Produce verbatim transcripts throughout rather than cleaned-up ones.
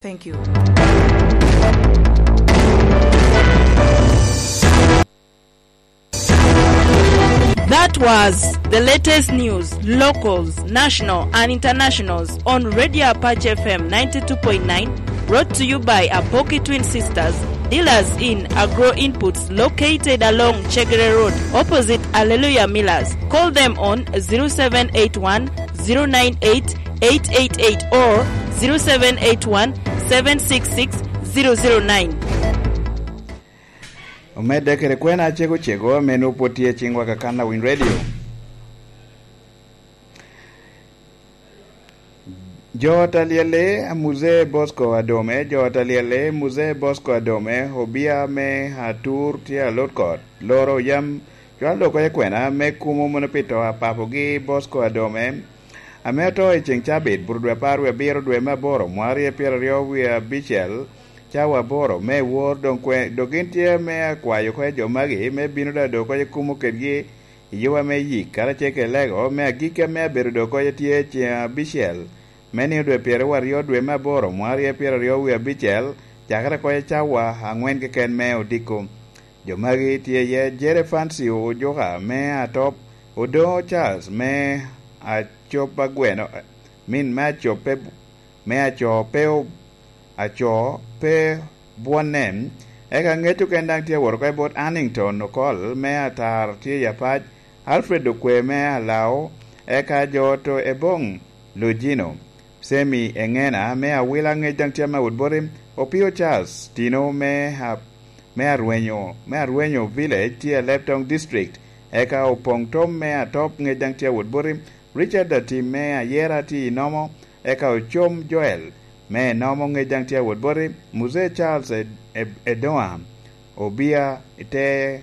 Thank you. That was the latest news, locals, national and internationals on Radio Apache F M ninety-two point nine, brought to you by Apoki Twin Sisters, dealers in agro inputs located along Chegere Road, opposite Alleluia Millers. Call them on zero seven eight one, zero nine eight, eight eight eight or zero seven eight one, seven six six, zero zero nine. Omedde kede kwena cego cego ame nwoŋo pwod tye i ciŋwa ka kan awiny redio. Jo ot alyelle, Muzee Bosco Adome, jo ot alyelle, Muzee Bosco Adome, obia me Atur tye alot kot, loro yam cwalo dok oko i kwena me kumo mono pi to a papogi Bosco Adome, ame oto i ceŋ cabit, buto dwe apar wie abiro dwe me aboro, mwaka aryo pyeraryo wie abicel, cawa aboro, me wor, doŋ kwe-, dok gin tye me akwayo oko i jo magi, me bino da dok oko i kumo kedgi, i yuba me yik, karacel kede lego me agikki ame abedo dok oko tye ceŋ abicel, me nino dwe pyeraryo aryo dwe me aboro, mwaka aryo pyeraryo wie abicel, cakere oko i cawa aŋwen keken me odiko. Jo magi tye iye Jere Fancy Ojuka me Atop, Odoŋo Charles me Acop Agweno, min me Acop pe, me Aco pe o-, Aco pe bwonne, eka ŋec oken daŋ tye awot oko i bot Annington Okol me Atar tye i Apac, Alfred Okwe me Alao, eka jo to Eboŋ Lujino, Semi Eŋena me Awila ŋec daŋ tye ame awot boti, Opio Charles Tino me A-, me Arwenyo, me Arwenyo Village tye i Alebtong District, eka Opoŋ Tom me Atop ŋec daŋ tye awot boti, Richard Atim me Ayera tye i Nomo, eka Ocom Joel me Nomo ŋec daŋ tye awot boti, Muzee Charles Ed-, Ed-, Edoŋa Obia te,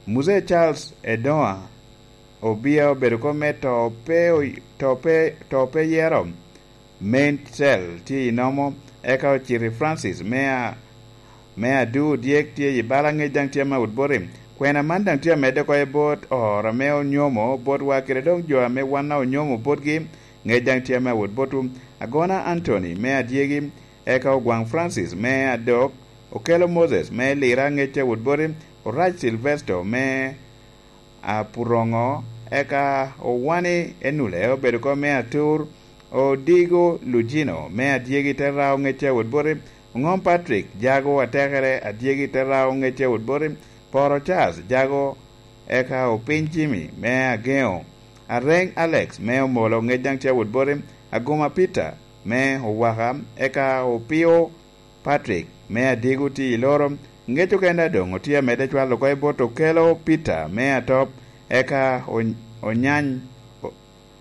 Muzee Charles Edoŋa Obia obedo kop me to pe oy-, to pe, to pe yero, Main Cell tye i Nomo, eka Ociti Francis me a-, me Adu Dyek tye i bala ŋec daŋ tye ame awot boti. Kwena man daŋ tye amedde oko i bot oro ame onyomo botwa kede doŋ jo ame wan a onyomo botgi ŋec daŋ tye ame awot botwu. Agona Anthony me Adyegi, eka Ogwaŋ Francis me Adok, Okelo Moses me Lira ŋec tye awot boti, Orac Silvesto me Apuroŋo, eka Owani Enule obedo kop me Atur, Odigo Lujino me Adyegi te Rao ŋec tye awot boti, Oŋom Patrick Jago Atekere Adyegi te Rao ŋec tye awot boti, Poro Charles Jago, eka Opiny Jimmy me Ageŋo, Areŋ Alex me Omolo ŋec daŋ tye awot boti, Aguma Peter me Owaka, eka Opio Patrick me Adigo tye i Loro, ŋec oken daŋ doŋ otye amedde cwalo oko i bot Okelo Peter me Atop, eka Ony-, Onyany, O-,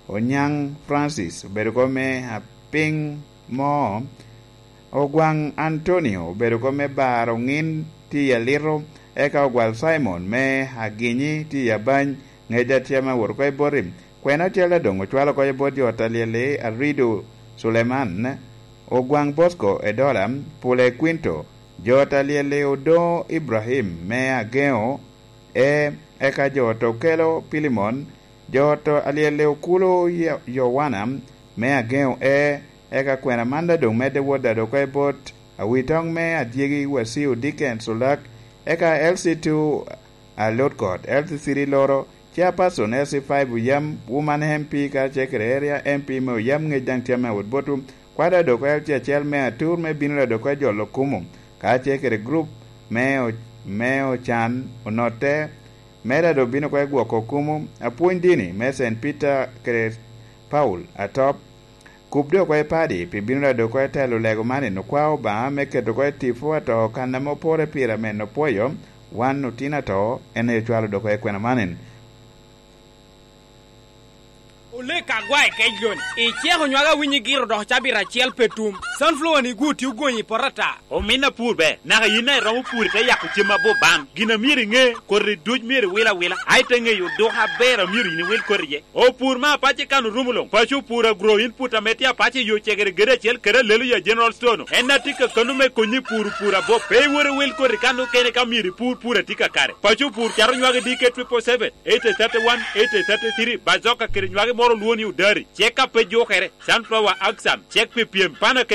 Onyaŋ Francis obedo oko me Apiŋ Mo, Ogwaŋ Antonio obedo oko me Bar Oŋin tye i Alito, eka Ogwal Simon me Aginyi tye i Abany, ŋec daŋ tye ame awot oko i boti. Kwena ocel daŋ doŋ ocwalo oko i bot jo ot alyel-li, Arido Suleman, Ogwaŋ Bosco Edola, Pule Kwinto, jo ot alyel-li Odoŋo Ibrahim me Ageŋo, e, eka jo ot Okelo Pilimon, jo ot alyel-li Okulo Yo-, Yowana me Ageŋo, e, eka kwena man daŋ doŋ medde wot daŋ oko i bot Awitoŋ me Adyegi Wasiu Dickens Olak, eka L C two Alot Kot, L C three Loro, Chairperson L C five Oyam, Woman M P karacel kede Area M P me Oyam ŋec daŋ tye ame awot botwu, kwada dok L C acel me Atur me bino da dok jolo kumo, karacel kede gurup me o-, me Ocan Onotte, me da dok bino oko gwoko kumo, apwony dini me Saint Peter kede Paul Atop, Kub dok oko i padi pi bino da dok oko i telo lego man en okwao Obaŋa me keto oko i tipo ato kan ame opore pire ame en opwoyo, wan otino ato, en aye ocwalo dok oko i kwena man en. Olek agwa i kec loni, iceko nywage awinyo igiro dok cabit acel pe tum. Sunflower ni gwo tye ogonyo i poto ata. Omin apur ber, naka yin a iromo pur ite yako cem abup bam. Gin a myero iŋe, koti duc myero iwil awila, a ite ŋeyo oduko aber a myero yin iwil koti iye. Opur me apace kan orumo luŋ. Paco opur agro input ame tye apace i yo cegere gedo acel kede alelo ya General Store-nu. En a tye ka kano me konyi i puro pur abop. Pe iwot iwil koti kan okene ka myero ipur pur a tye kakare. Paco opur cato nywage D K triple seven, eight thirty-one, eight thirty-three, bazoka kede nywage moro olwoŋo ni odari, cek a pe jukere, sunflower axan, cek pi pyem, pana kede